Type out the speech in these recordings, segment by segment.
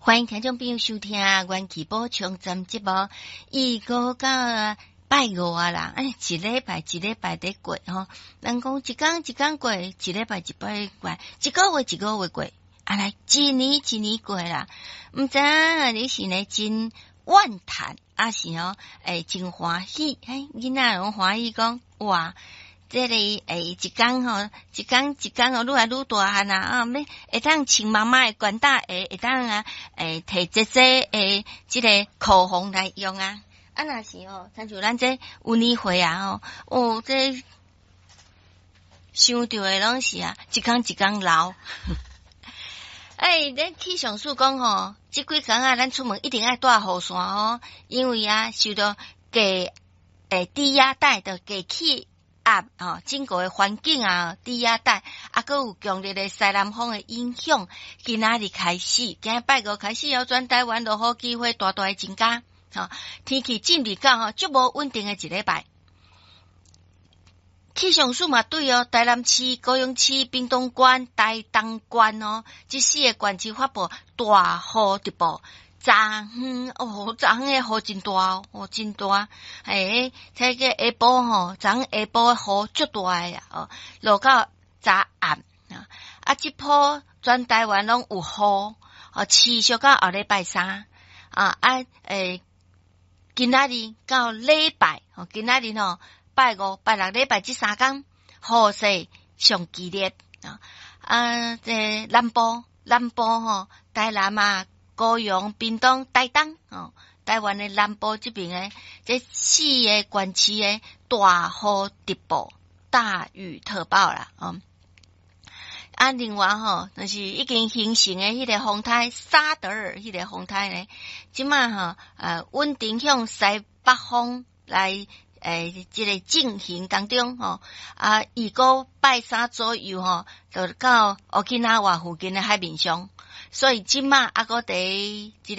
歡迎聽眾朋友收聽《元氣補充站》節目，預告到拜五啊啦，哎，一禮拜一禮拜佇過吼，人講一工一工過，一禮拜一禮拜過，一個月一個月過，啊來一年一年過啦，毋知影你是呢真怨嘆，抑是吼會真歡喜？嘿，囡仔攏歡喜講哇！這個欸，一工吼，一工一工哦，愈來愈大漢啊！啊，欲會當穿媽媽的懸帶鞋，會當啊，欸，提姐姐的這個口紅來用啊！啊，若是吼，親像咱這有年歲啊吼，哦，這想著的攏是啊，一工一工老。欸，咱氣象署講吼，這幾工啊，咱出門一定愛帶雨傘哦，因為啊，受著低欸低壓帶的低氣壓吼，整個的環境啊，低壓帶啊，閣有強烈的西南風的影響，今仔日開始，今仔拜五開始哦，全台灣落雨機會大大的增加，吼，天氣進入到吼足無穩定的一禮拜。氣象署嘛對哦，台南市、高雄市、屏東縣、台東縣哦，這四個縣市發布大雨特報。昨昏哦，昨昏的雨真大哦，真大。欸，這個下晡吼，昨昏下晡雨足大的哦，落到昨暗啊。啊，這波全台灣攏有雨，哦，持續到後禮拜三啊啊，欸，今仔日到禮拜，哦，今仔日吼拜五、拜六、禮拜這三工雨勢上激烈啊。啊，這南部南部吼，台南啊，高雄、屏東、台東哦，台灣的南部這邊的這四個縣市的大雨特報、大雨特報啦，哦。啊，另外吼，就是已經形成的彼個風颱沙德爾，彼個風颱呢，這馬吼，穩定向西北風來，欸，這個進行當中吼，啊，預估拜三左右吼，就到沖繩附近的海面上。所以這馬猶閣佇這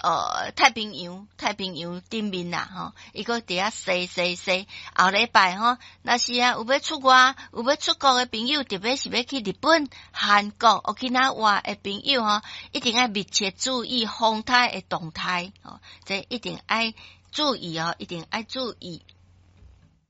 個太平洋頂面啦吼，伊閣佇遐踅踅踅。後禮拜吼，若是啊有欲出外、有欲出國的朋友，特別是欲去日本、韓國、沖繩的朋友吼，一定愛密切注意風颱的動態吼，這一定愛注意哦，一定愛注意。